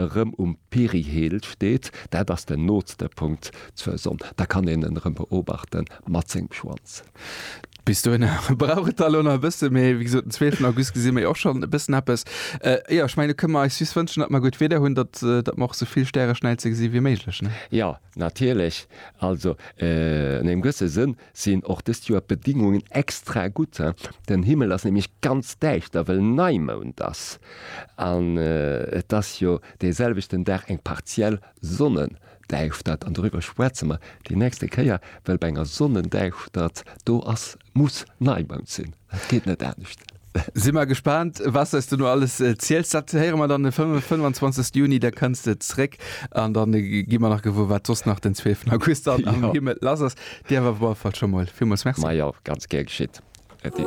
Erëm um Perihel steet, dat ass den nootste Punkt zur Sonn, da kann een en erëm beobachte mat sengem Schwanz. Bis dohinner brauch et da lo nach e bësse, mee wéi gesot, den 12 August gesi mer jo och schonn e bëssen eppes. Jo, ech mengen, do kënne mer eis just wënschen, datt mer gutt Wieder hunn, datt datt mer och sou vill Stäreschnäize gesi wéi méiglech, ne? Jo, natierlech. Also an engem gewësse Sënn sinn och dëst Joer d'Bedingungen extra gutt. Den Himmel ass nämlech ganz däischter, well Neimound ass. An et ass jo dee selwechten Dag eng partiell Sonnendäischtert. An doriwwer schwätze mer déi nächste Kéier, well bei enger Sonnendäischtert, do ass, muss Neimound sinn. Et geet net anescht. Si mer gespaant, was s de no alles ziels. Dat héiere mer dann de 25. Juni, da kënns de zréck an dann gi mer nach gewuer, wat soss nach den 12. August dann am Himmel lass ass. Dir awer op alle Fall scho mol villmools Merci. Majo, ganz gär geschitt, Äddi.